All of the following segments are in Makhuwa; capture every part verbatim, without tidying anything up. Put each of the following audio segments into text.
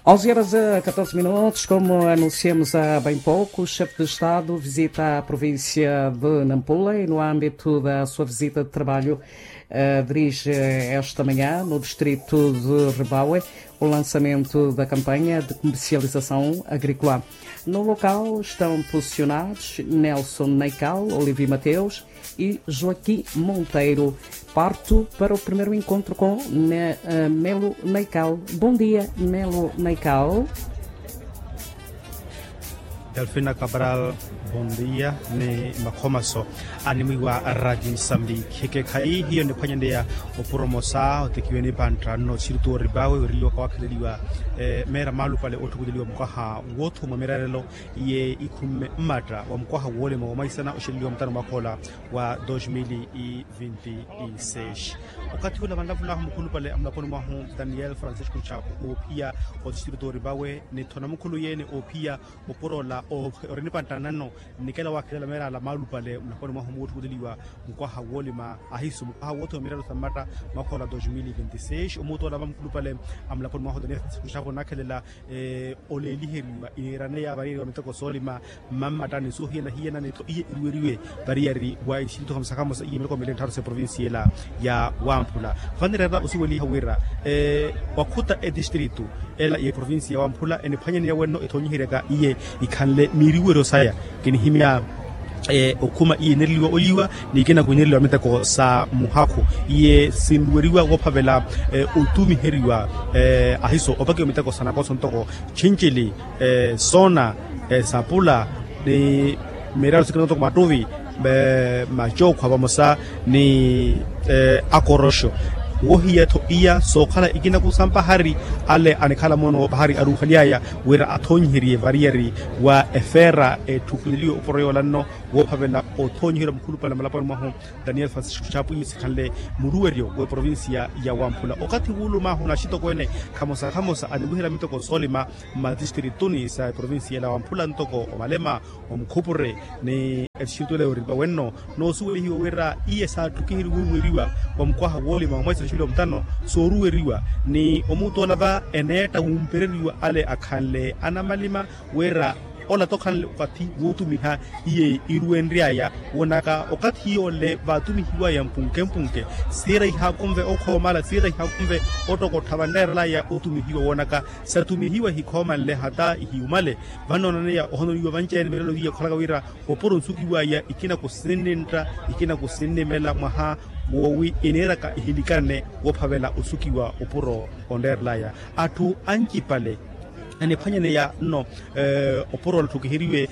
Onze horas e catorze minutos, como anunciamos há bem pouco, o chefe de Estado visita a província de Nampula e, no âmbito da sua visita de trabalho, eh, dirige esta manhã, no distrito de Rebaue, o lançamento da campanha de comercialização agrícola. No local estão posicionados Nelson Naical, Olivi Mateus, e Joaquim Monteiro. Parto para o primeiro encontro com Ne-, eh, Melo Naical. Bom dia, Melo Naical. Delfina Cabral, bom dia, ni makhomaso animwiwa radi Msambiki. Ekekhayi hiyo niphwanyaneya oporomosa otekiwe ni pantta nno sirtu oripawe weriwaka wakheleliwa, eh, meera maalupale otthukuleliwa mukwaha wothumwa mirarelo iye ikhumme mmatta wa mukwaha woolima womwaisana oxeleliwa mutano mwakhoola wa dos mil e vinte e seis. Okathi ula vanlavulahu mukhulupale amulaponi mwahu Daniel Francisco Chapo oophiya otistritori vawe nithona mukhulu yene oophiya oporola orini panttannano nnikela wakhelela meerala maalupale mulaponi mwahu muwotthukuleliwa mukwaha woolima ahisu mukwaha woothiwa miralo sa mmatta mwakhoola dos mil e vinte e seis omuutola va mukhulupale amulaponi mwahu Daniel Francisco Chapo nakhelela oleeliheriwa ineeraneya variyari wa miteko soolima mmammattani soohiyana-hiyana ni tho iye iruweriwe variyari wa isintuha musakhamosa iye miloko mili nttharu sa eprovincia ela ya wamphula. Vaneerera osuweliha wira wakhuta etistritu ela ya eprovincia ya wamphula eniphwanyaneya wenno ethoonyiheryaka iye ikhanle miiriweryo saya kinihimya okhuma iye enereliwa oliwa ni ikina kwinereliwa miteko sa muhakhu iye sinruweriwa woophavela otumiheriwa ahiso opakiwa miteko sa nakoso ntoko chinchili soona sapula ni miralo sikina ntoko mattuvi macookhwa vamosa ni akoroxo wohiya-tho iya sookhala ikina kusampa hari ale anikhala moono pahari aruuhaly'aya wira athoonyiheriye variyari wa efeera etthukileliwe oporo yoola nno woophavela othoonyiheriwa mukhulupale malaponi mwahu daniel francisco chapu iye sikhanle muruweryo w'eprovincia ya wamphula okathi wuulumaahu naxitokweene khamosa-khamosa aniwiherya miteko soolima mmatistirituni sa eprovincia ela wamphula ntoko omalema omukhupure ni etixituwela yooripa wenno noosuwelihiwa wira iye saatthukiherye wuuruweriwa wa mukwaha woolima wa mwaisa xilo mutano sooruweriwa ni omuutola va eneetta wumpereriwa ale akhanle anamalima wira ola tokhanle okathi wuutumiha iye iruwenry'aya woonaka okathi yole vaatumihiw'aya mpunke-mpunke siira ihaakunve okhoomala siira ihaakunve ottokottha vanreerel'aya otumihiwa woonaka satumihiwa ehikhooma nle hata ihiyumale vannoonaneya ohononiwa vanci-ene mirelo hiyo okhalaka wira opuro onsukiw'aya ikina kusinnintta ikina kusinnimela mwaha woowi eniiraka ihilikanne woophavela osukiwa opuro onreerel'aya atthu ancipale aniphwanyaneya nno opuro ola otthukiheriwe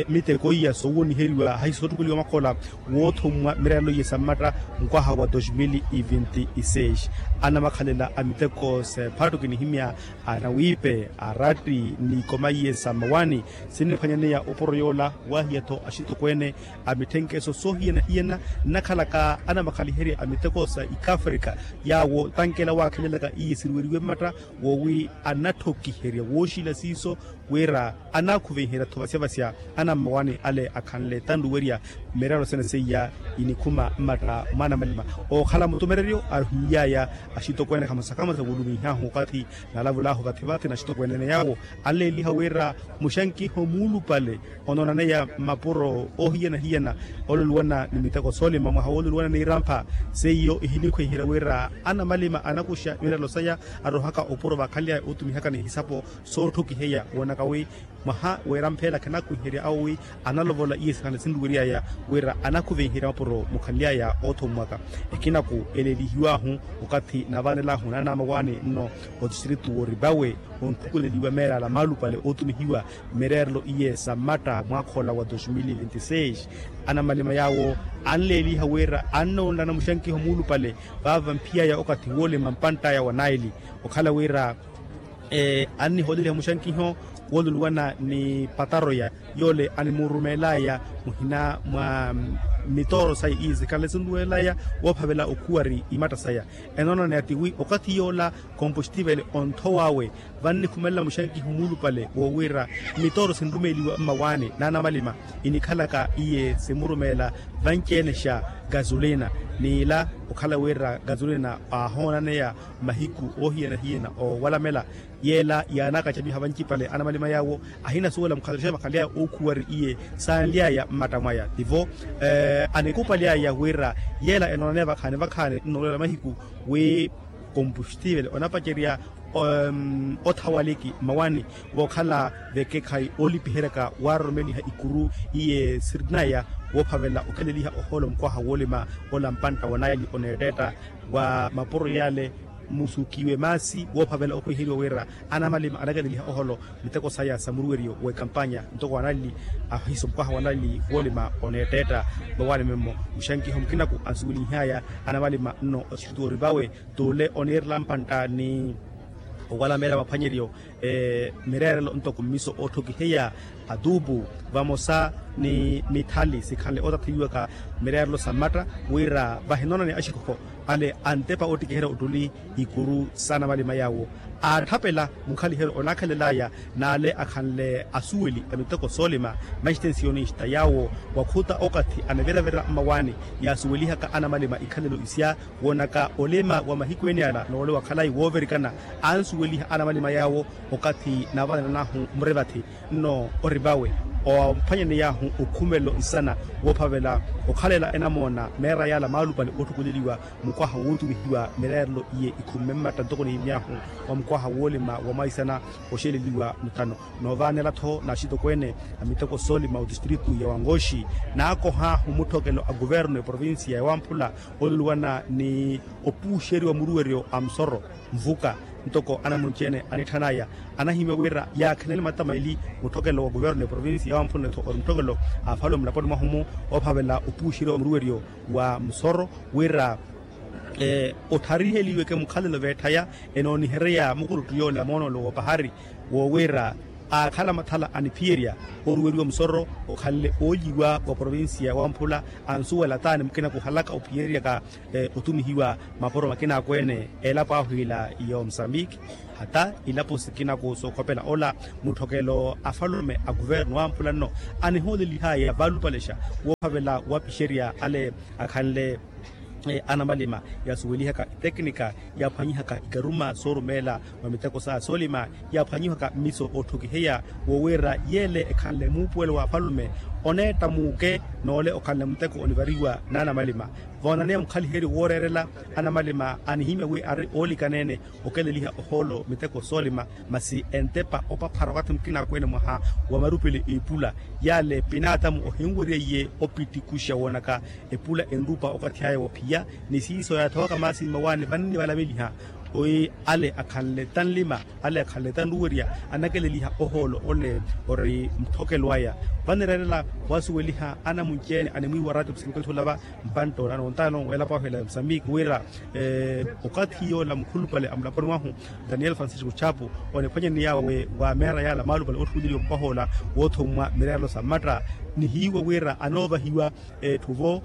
miteko iya soowoniheriwa hayi sootthukeliwa makhola woothummwa mirarelo iye sa mmatta mukwaha wa dos mil e vinte e seis anamakhalela a miteko sephattu kinihimya anawiipe aratti ni ikoma iye sa mmawaani sinniphwanyaneya opuro yoola waahiya-tho axitokweene a mitthenkeso soohiyana-hiyana nnakhalaka anamakhaliherya a miteko sa ikafrika yaawo tankela waakhelelaka iye siruweriwe mmatta woowi anatthokiherya wooxila siiso wira anaakhuvenherya-tho vasya-vasya anammawaani ale akhanle tanruwerya miraro sene seiya inikhuma mmatta mwaana malima ookhala mutumereryo aruhiny'aya axitokweene khamosa-khamosa wuulumiih'ahu okathi naalavulahu vathi-vathi naxitokweene-ene yaawo anleeliha wira muxankiho muulupale onoonaneya mmapuro oohiyana-hiyana oololuwana ni miteko soolima mwaha woololuwana ni irampha seiyo ihinikhweiherya wira anamalima anakuxa miralo saya arohaka opuro vakhaly'aya ootumihaka ni ihisapo sootthukiheya woonaka wi mwaha w'erampheela khanakhwiherya awo wi analovola iye sikhanle sinruwery'aya wira anakhuvenherya mapuro mukhanly'aya oothommwaka ekinaku eleelihiw'ahu okathi naavanel'ahu naanaamawaani nno otistritu w'oripawe onthukuleliwa meerala maalupale ootumihiwa mmereerelo iye sa mmatta mwaakhoola wa dos mil vinte seis anamalima yaawo anleeliha wira annoonlana muxankiho muulupale vaava mphiy'aya okathi woolima mpantt'aya wa naili okhala wira annihooleliha muxankiho wooluluwana ni pataroya yoole animurumeel'aya muhina mwa mitooro saya iye sikhanle sinruweel'aya woophavela okhuwari imatta saya enoonana ya tiwi okathi yoola kompostivele onthow'awe vannikhumelela muxankiho muulupale woowira mitooro sinrumeeliwa mmawaani n'anamalima inikhalaka iye simurumeela Vanci-ene xa gasolina, n'ila okhala wira gasolina aahoonaneya mahiku oohiyana-hiyana oowalamela. Yeela yaanakacamiha vancipale anamalima yaawo ahinasuwela mukhalelo xa vakhanly'aya ookhuwari iye saanly'aya mmatta mwaya tivo anikupaly'aya wira yeela enoonaneya vakhaani vakhaani nnoolwela mahiku wi kompuxtivele onapacerya othawaliki mmawani vookhala vekekhayi oolipiheryaka waaroromeliha ikuru iye sirinaya woophavela okheleliha ohoolo mukwaha woolima ola mpantta wa naili oneettetta wa mapuro yale musukiwe maasi woophavela okhwiheriwa wira anamalima anakeleliha oholo miteko saya sa muruweriyo w'ekampanya ntoko wa naili ahiso mukwaha wa naili woolima oneettetta vawaani memmo muxankiho mukinaku ansuwelinhaya anamalima nno othiritu orivawe t'ule oniirela mpantta ni owalamela maphwanyeryo mireerelo ntoko mmiso ootthokiheya atuupu vamosa ni mithali sikhanle ootathiwaka mireerelo sa mmatta wira vahinoonane axikokho ale antepa oottikiherya ottuli ikuru s'anamalima yaawo aatthapela mukhaliheryo onaakhalel'aya n'ale akhanle asuweli a miteko soolima maxtensionista yaawo wakhuta okathi aniviravira mmawaani yaasuwelihaka anamalima ikhalelo isya woonaka olima wa mahiku ene ala noole wakhalayi woovirikana ansuweliha anamalima yaawo okathi naavanananahu murevathi nno orivawe ophwanyaney'ahu okhumelo nsana woophavela okhalela enamoona meera yaala maalupale ootthukuleliwa mukwaha wootumihiwa mireerelo iye ikhumme mmatta ntoko niimy'ahu wa mukwaha woolima wa mwaisana oxeleliwa muthano noovaanela-tho n'axitokweene a miteko soolima otistritu ya wangoxi naakoh'ahu mutthokelo a kuvernu eprovincia ya wamphula oluluwana ni opuuxeriwa muruweryo a musoro nvuka ntoko anamunci-ene anitthana aya anahimya wira yaakhenele mattama eli mutthokelo wa kuvernu eprovincia ya wamphula ni-tho ori mutthokelo a afalume mulaponi mwahu-mu oophavela opuuxeriwa muruweryo wa musoro wira othariheliweke mukhalelo veetthaya enoonihereya mukuluttu yoola moonolo w'opahari woowira aakhala mathala aniphiyerya oruweriwa musoro okhanle oolyiwa wa provincia wamphula ansuwela taani mukina kuhalaka ophiyereryaka otumihiwa mapuro makina akweene elapo ahu ila ya omusambiki hata ilapo sikinaku sookhopela ola mutthokelo afalume a kuvernu wamphula nno anihoolelihaya valupalexa woophavela wapixerya ale akhanle anamalima yaasuwelihaka iteknika yaaphwanyihaka ikaruma soorumeela mwa miteko saya soolima yaaphwanyihaka mmiso ootthokiheya woowira yeele ekhanle muupuwelo wa afalume oneetta muuke noole okhanle muteko onivariwa n'anamalima voonaneya mukhaliheryo wooreerela anamalima anihimya wi ari oolikaneene okeleliha ohoolo miteko soolima masi entepa opaphara wakathi mukina akweene mwaha wa marupele iipula yale pinaatamu ohinwerya iye opitikuxa woonaka epula enrupa okathi aya wophiya ni siiso yaathowaka maasi mmawaani vanni valameliha wi ale akhanle tanlima ale akhanle tanruwerya anakeleliha ohoolo ole ori mutthokelo aya vanireerela wasuweliha anamunci-ene animwiiwa ratio psinikwethi olava mpantta onano ontano weelapo ahu ela ya musambiki wira okathi yoola mukhulupale a mulaponi mwahu daniel francisco chapu oniphwanyani yaawe wa meera yaala maalupale otthukuleliwa mukwaha ola woothummwa mireerelo sa mmatta nihiiwa wira anoovahiwa etthu vo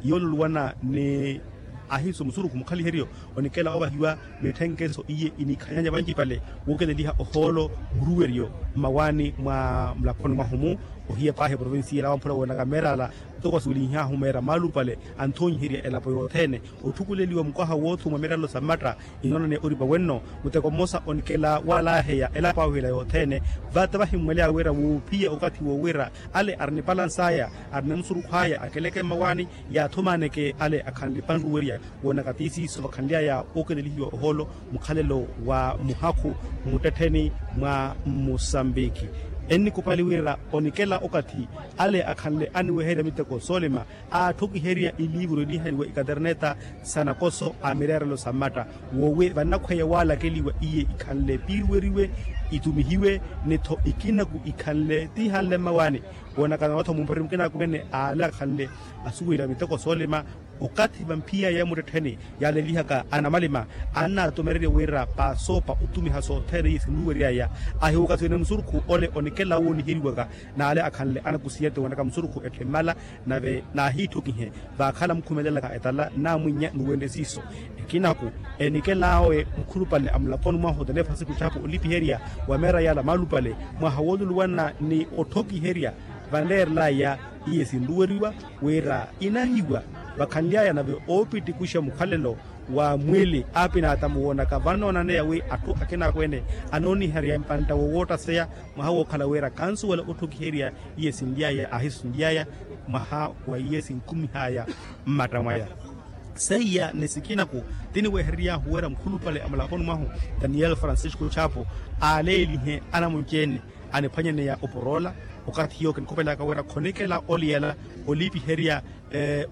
yooluluwana ni ahiiso musurukhu mukhaliheryo onikela ovahiwa mitthenkeso iye inikhanyanya vancipale wookeleliha ohoolo muruweryo mmawaani mwa mulaponi mwahu-mu ohiya paahi eprovincia ela wamphula woonaka meera ala ntoko asuwelinhyahu meera maalupale anthoonyiherya elapo yothene otthukuleliwa mukwaha woothumwa mireerelo sa mmatta inoonane oripa wenno muteko mmosa onikela waalaaheya elapo ahu ila yothene vata vahimmweleya wira wuuphiya okathi woowira ale arinipalansa aya arinamusurukhu aya akeleke mmawaani yaathumaaneke ale akhanle panruwerya woonaka ti siiso vakhanly'aya ookelelihiwa ohoolo mukhalelo wa muhakhu muttettheni mwa musambiki ennikupali wira onikela okathi ale akhanle aniweherya miteko soolima aatthokiherya iliivuru enihaniwa ikaterneta sa nakoso a mireerelo sa mmatta woowi vannakhweya waalakeliwa iye ikhanle piiruweriwe itumihiwe ni-tho ikinaku ikhanle tiihanle mmawaani woonaka nootho mumpari mukina akweene aale akhanle asuweliwa miteko soolima okathi vamphiyaya muttettheni yaalelihaka anamalima annaatomererya wira paasoopa otumiha sothene iye sinuweryaya ahiwuka siwene musurukhu ole onikela wooniheriwaka n'ale akhanle anakusiyete woonaka musurukhu etthimmala nave naahiitthokihe vaakhala mukhumelelaka etala nnamwinnya nuwenrye siiso ekinaku enikela awe mukhulupale a mulaponi mwahu daniel francisco chapu olipiherya wa meera yaala maalupale mwaha wooluluwana ni otthokiherya vanleerelaya iye sinruweriwa wira inahiwa vakhanly'aya nave oopitikuxa mukhalelo wa mwili aapinaatamu woonaka vannoonaneya wi atthu akinaakweene anooniherya mpantta wowoottaseya mwaha wookhala wira kansuwela otthokiherya iye sinly'aya ahisunly'aya mwaha wa iye sinkumih'aya mmatta mwaya. Seiya ni sikinaku tiniweherery'ahu wira mukhulupale a mulaponi mwahu daniel francisco chapo aaleelihe anamunci-ene aniphwanyaneya oporoola okathi hiyo kinikopelaka wira khonikela oliyela oliipiherya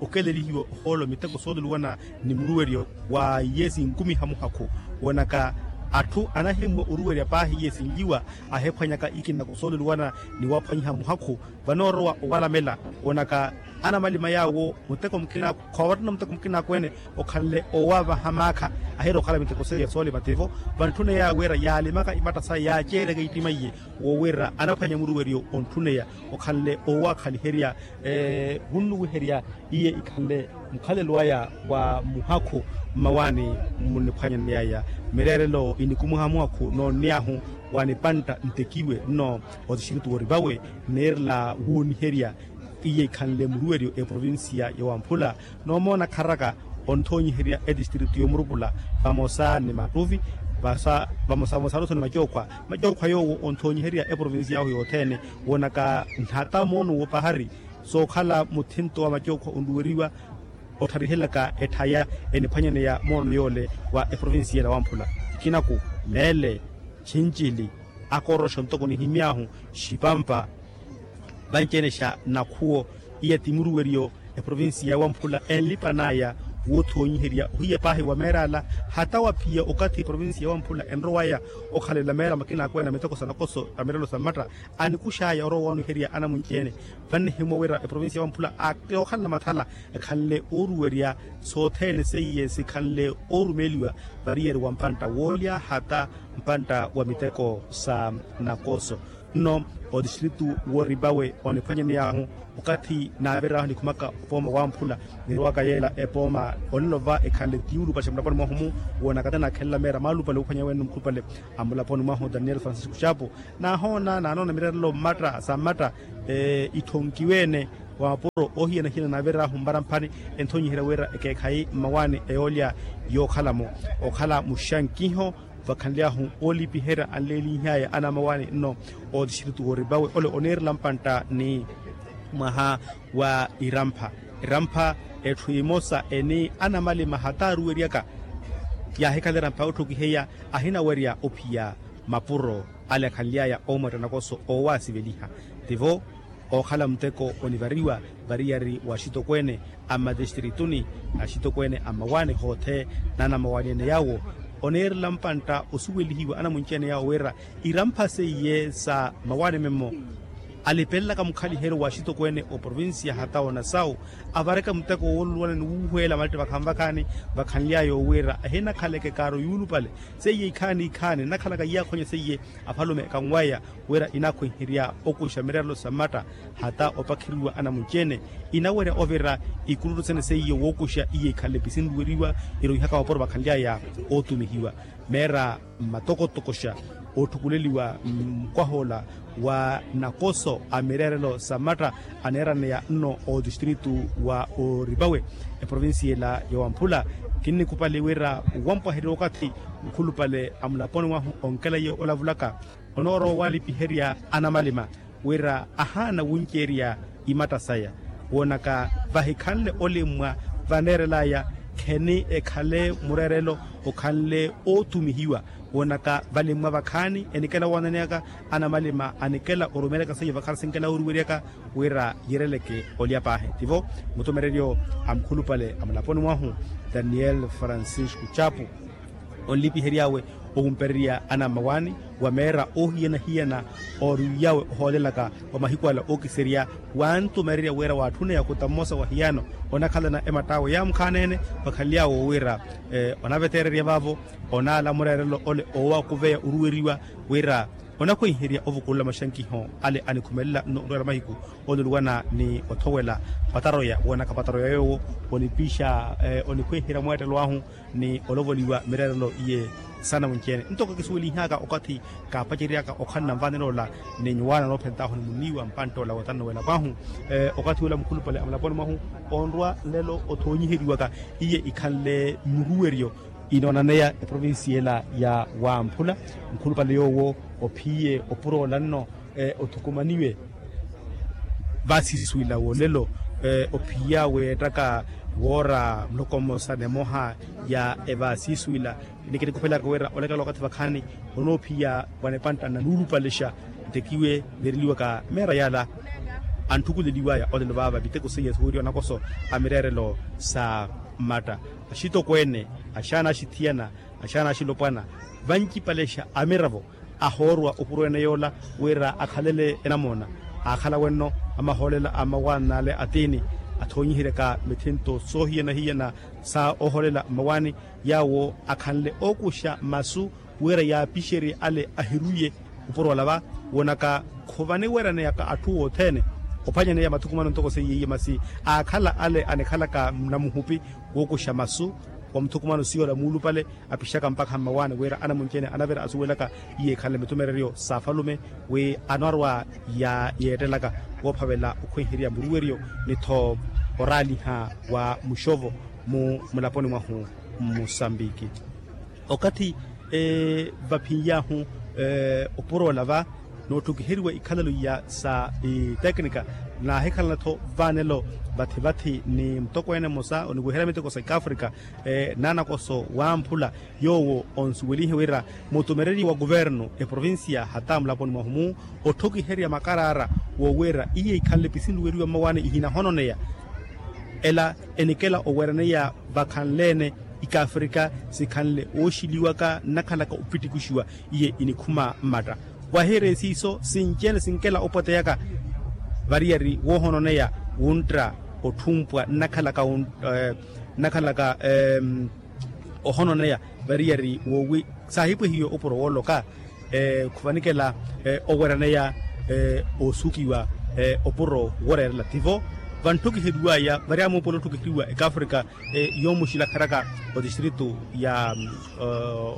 okelelihiwa ohoolo miteko sooluwana ni muruweryo wa iye sinkumiha muhakhu woonaka atthu anahimwa oruwerya paahi iye sinlyiwa ahiphwanyaka ikina kusooluwana ni waphwanyiha muhakhu vanoorowa owalamela woonaka anamalima yaawo muteko mukina khoovattana muteko mukina akweene okhanle oowavaha maakha ahiira okhala miteko seiya soolima tivo vantthuney'awe wira yaalimaka imatta saya yaaceereke ittimaiye woowira anaphwanya muruweryo ontthuneya okhanle oowaakhaliherya vunnuwiherya iye ikhanle mukhalelo aya wa muhakhu mmawaani muniphwanyaney'aya mireerelo inikumuha muhakhu noonniy'ahu wa nipantta ntekiwe nno otixirutu worivawe niirela wooniherya iye ikhanle muruweryo eprovincia ya wamphula noomoona kharaka onthoonyiherya etistritu yomurupula vamosa ni mattuvi vamosa vamosa aruso ni macookhwa macookhwa yoowo onthoonyiherya eprovincia yahu yothene woonaka nhata moono wopahari sookhala muthinto wa macookhwa onruweriwa ottharihelaka etthaya eniphwanyaneya moono yoole wa eprovincia ya wamphula ikinaku meele chincili akooroxa ntoko nihimy'ahu xipampa vanci-ene xa nakhuwo iya ti muruweryo eprovincia ya wamphula enlipan'aya woothoonyiherya ohiya paahi wa meer'ala hata waphiya okathi eprovincia ya wamphula enrow'aya okhalela meera makina akweene a miteko sa nakoso a mirelo sa mmatta anikux'aya orowa owanuherya anamunci-ene vannihimwa wira eprovincia ya wamphula aakokhalela mathala ekhanle ooruwerya sothene seiye sikhanle oorumeeliwa variyeri wa mpantta woolya hata mpantta wa miteko sa nakoso nno otistritu woripawe oniphwanyaney'ahu okathi naavir'ahu nikhumaka opooma wamphula nirowaka yeela epooma onilova ekhanle tiyulupaxa mulaponi mwahu-mu woonaka tanakhelela meera maalupale oophwanya wene mukhulupale a mulaponi mwahu daniel francisco chapo naahoona naanoona mirerelo mmatta sa mmatta itthonkiwe-ene wa mapuro oohiyana-hiyana naavir'ahu mmaramphani enthonyiherya wira ekeekhayi mmawaani eyoolya yookhala-mo okhala muxankiho vakhanly'ahu oolipiherya anleeliih'aya anamawaani nno otistritu woripawe ole oniirela mpantta ni mwaha wa irampha irampha etthu emosa eni anamalima hataaruweryaka yaahikhala irampha otthokiheya ahinawerya ophiya mapuro ale akhanly'aya oomwetta nakoso oowaasiveliha tivo ookhala muteko onivariwa variyari wa axitokweene a mmatistrituni axitokweene a mmawaani hoothe n'anamawaani-ene yaawo oniirela mpantta osuwelihiwa anamunci-ene yaawo wira irampha seiye sa mawaani memmo alipelelaka mukhaliheryo wa axitokweene oprovincia hata onasawu avareke muteko wooluluwana ni wuuhweela malette vakhanvakhaani vakhanly'aya owiira ahinakhaleke kaaro yuulupale seiye ikhaani ikhaani nnakhalaka iyaakhonye seiye afalume ekanw'aya wira inaakhwenherya okuxa mirerelo sa mmatta hata opakheriwa anamunci-ene inawerya ovira ikuluttu sene seiye wookuxa iye ikhanle pisinruweriwa iroihaka mapuro vakhanly'aya ootumihiwa meera mmatokotoko xa ootthukuleliwa mukwaha ola wa nakoso a mireerelo sa mmatta aneeraneya nno otistritu wa oripawe eprovincia ela ya wamphula kinnikupali wira wampwaherya okathi mukhulupale a mulaponi mwahu onkela iye olavulaka onoorowa owalipiherya anamalima wira ahaana wunceerya imatta saya woonaka vahikhanle olimmwa vaneerel'aya kheni ekhale mureerelo okhanle oothumihiwa woonaka valimmwa vakhaani enikela woonaneyaka anamalima anikela orumeeryaka seiyo vakhaani sinkela oruweryaka wira yireleke olya paahi tivo mutumereryo a mukhulupale a mulaponi mwahu daniel francisco chapu onlipihery'awe owumpererya anammawaani wa meera oohiyana-hiyana ooriw'awe ohoolelaka wa mahiku ala ookiserya wantumererya wira waatthuna yakuta mmosa wa hiyano onakhalana ematt'awe yaamukhaana-ene vakhanly'awe owiira onaveteererya vaavo onaala mureerelo ole oowakuveya oruweriwa wira Onakhwenherya ovukulela maxankiho ale anikhumelela nno onrwela mahiku, oluluwana ni othowela pataroya woonaka pataroya yoowo onipixa onikhwenherya mweettelo ahu ni olovoliwa mireerelo iye. Saana munci-ene ntoko kisuwelinhaka okathi kaapaceryaka okhala nanvanela ola ni nyuwaana noophentaahu ni muniiwa mpantta ola wotanno wela pwahu. Okathi ola mukhulupale a mulaponi mwahu onrwa nlelo othoonyiheriwaka iye ikhanle muruweryo inoonaneya eprovincia ela ya wamphula. Mukhulupale yoowo ophiye opuro ola nno othukumaniwe vaasiswila wolelo ophiya weettaka woora muloko mmosa nemoha ya evaasiswila. Ni kinikuphelaka wira olekela okathi vakhaani onoophiya wa nipantta na nuulupalexa ntekiwe veereliwaka meera yala anthukuleliwaya olelo vaava miteko seiya suweriwa nakoso a mireerelo sa mmatta axitokweene axaana axithiyana axaana axilopwana vancipalexa a miravo ahoorwa opuro ene yoola wira akhalele enamoona. Aakhala wenno amahoolela a mmawaani n'ale atiini athoonyiheryaka mithinto soohiyana-hiyana sa ohoolela mmawaani yaawo akhanle ookuxa masu wira yaapixerye ale ahirwiye. Opuro ola va woonaka khuvaniweraneyaka atthu othene ophanyaneya mathukumano ntoko seiye iye masi aakhala ale anikhalaka namuhupi wookuxa masu wa muthukumano siyola muulupale apixaka mpakha mmawaani wira anamunci-ene anavira asuwelaka iye ekhanle mitumereryo sa afalume wi anwarwa yeettelaka woophavela okhwenherya muruweryo ni-tho oraaliha wa muxovo mu mulaponi mwahu mmusambiki. Okathi vaphin'yahu opuro ola va nootthukiheriwa ikhalelo iya sa iteknika naahikhalana-tho vaanelo vathi-vathi ni mutokweene mmosa oniweherya miteko sa ikafrika naanakoso wamphula yoowo onsuwelihe wira mutumereryi wa kuvernu eprovincia hata mulaponi mwahu-mu otthukiherya makaraara woowira iye ikhanle pisinluweriwa mmawaani ihinahononeya ela enikela oweraneya vakhanle-ene ikafrika sikhanle wooxiliwaka nnakhalaka opittikuxiwa iye inikhuma mmatta wahireya siiso sinci-ene sinkela opwateyaka variyari woohononeya wuntta otthumpwa nnakhalaka nnakhalaka ohononeya variyari woowi saahipwehiwe opuro wooloka khuvanikela oweraneya oosukiwa opuro wooreerela tivo vantthukiheryiwaya varyamuupola otthukiheriwa ekafrika yoomuxilakheraka otistritu ya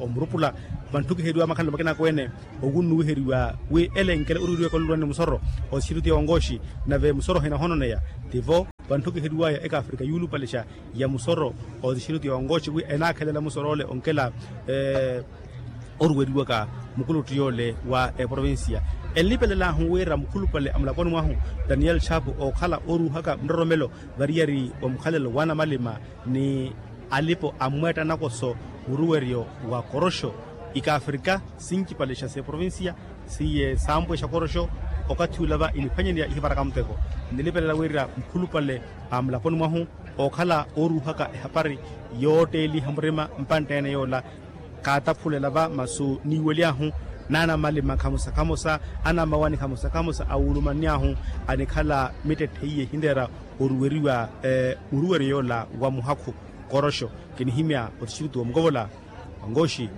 omurupula vantthukiheryiwa makhalelo makina akweene okunnuwiheriwa wi ele enkele oruweriwaka olulwani musoro otistritu ya onkoxi nave musoro hinahononeya tivo vantthukiheryiwaya ekafrika yuulupalexa ya musoro otistritu ya onkoxi wi enaakhelela musoro ole onkela oruweriwaka mukuluttu yoole wa eprovincia enlipelelahu wira mukhulupale a mulaponi mwahu daniel chapu ookhala ooruuhaka nroromelo variyari wa mukhalelo wanamalima ni alipo a mmweetta nakoso muruweryo wa koroxo ikafrika sincipalexa s'eprovincia siye saampwexa koroxo okathi ula va iniphwanyeneya ihivaraka muteko nilipelela wira mukhulupale a mulaponi mwahu ookhala ooruuhaka ehapari yootteeliha murima mpantta-ene yoola kaataphulela va masu niiwelyahu naanamalima khamosa khamosa anamawani khamosa khamosa awulumanny'ahu anikhala mittetthe iye ehinreera oruweriwa muruweryo yoola wa muhakhu koroxo kinihimya otistritu wa mukovola onkoxi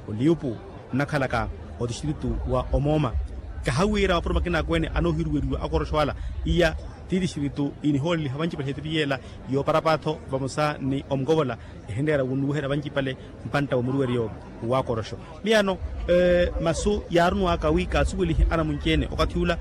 oliyupu nnakhalaka otistritu wa omooma kahawiira mapuro makina akweene anoohiruweriwa akoroxo ala iya ti tistritu inihooleliha vancipale ehetepi yeela yooparapatho vamosa ni omukovola ehinreera wunnuweherya vancipale mpantta wa muruweryo wa koroxo miyano masu yaarunwaka wi kaasuwelihe anamunci-ene okathi ula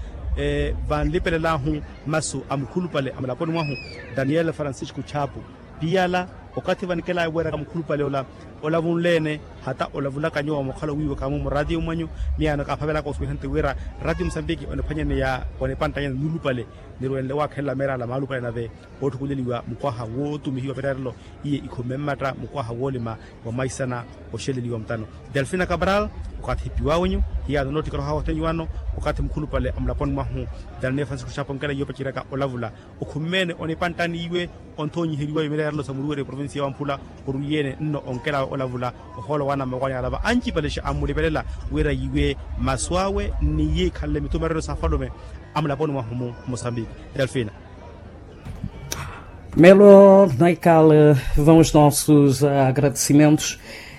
vanlipelelahu masu a mukhulupale a mulaponi mwahu daniel francisco chapu piyala okathi vanikelaya weeraka mukhulupale ola olavunle-ene hata olavulaka nyuwo mukhala owiiwaka-mu muraatiyo mwanyu miyano kaaphavelaka osuweliha nti wira raatiyo musambiki oniphwanyaneya onipanttanyana nuulupale nirwenle waakhelela meera ala maalupale nave ootthukuleliwa mukwaha wootumihiwa mireerelo iye ikhumme mmatta mukwaha woolima wa mwaisana oxeleliwa mutano delfina cabral okathi hipiwawenyu hiyaano noottikoroha othene iwaano okathi mukhulupale a mulaponi mwahu daniel francisco chapu onkela iwe opaceryaka olavula okhumme-ene onipanttani iwe onthoonyiheriwa mireerelo sa muruweryo eprovincia ya wamphula orwiye-ene nno onkela awe olavula ohoolo waana mmakwani alava ancipalexa ammulipelela wira iwe masu awe ni iye ikhanle mitumereryo sa afalume a mulaponi mwahu-mu mosambiki delfina melo naikala vão os nossos agradecimentos.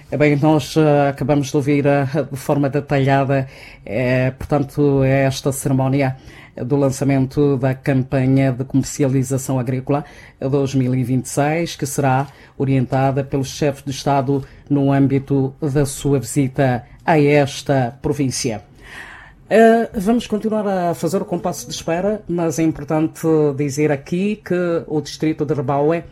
Bem, nós, eh, acabamos de ouvir, eh, de forma detalhada, eh, portanto, esta cerimónia do lançamento da campanha de comercialização agrícola dois mil e vinte e seis, que será orientada pelo chefe de Estado no âmbito da sua visita a esta província. Eh, vamos continuar a fazer o compasso de espera, mas é importante dizer aqui que o distrito de Rebaue,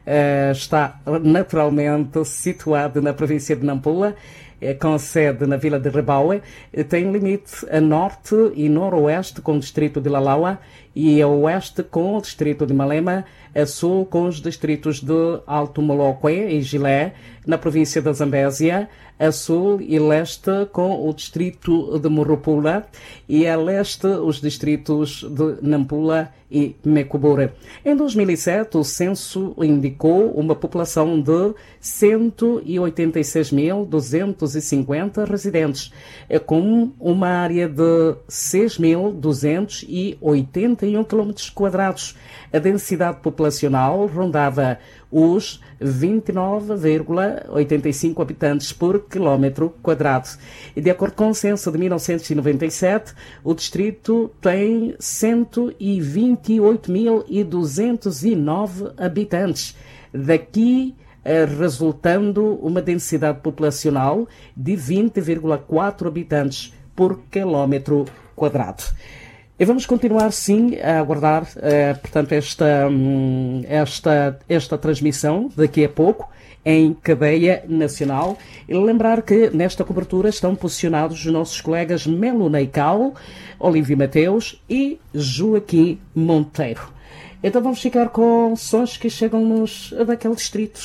eh, está naturalmente situado na província de Nampula, eh, com sede na vila de Rebaue, eh, tem limite a norte e noroeste com o distrito de Lalawa e a oeste com o distrito de Malema, a sul com os distritos de Alto Molokwe e Gilé, na província da Zambésia, a sul e leste com o distrito de Morropula e a leste os distritos de Nampula e Mekuburi. Em dois mil e sete, o censo indicou uma população de cento e oitenta e seis mil duzentos e cinquenta residentes, eh, com uma área de seis mil duzentos e oitenta e um quilómetros quadrados. A densidade populacional rondava os vinte e nove vírgula oitenta e cinco habitantes por quilómetro quadrado. E, de acordo com o censo de mil novecentos e noventa e sete, o distrito tem cento e vinte e oito mil e duzentos e nove habitantes. Daqui, eh, resultando uma densidade populacional de vinte vírgula quatro habitantes por quilómetro quadrado. E vamos continuar, sim, a aguardar, eh, portanto, esta, hum, esta, esta transmissão daqui a pouco em cadeia nacional. E lembrar que nesta cobertura estão posicionados os nossos colegas Melo Neical, Olívio Mateus e Joaquim Monteiro. Então vamos ficar com sons que chegam-nos daquele distrito.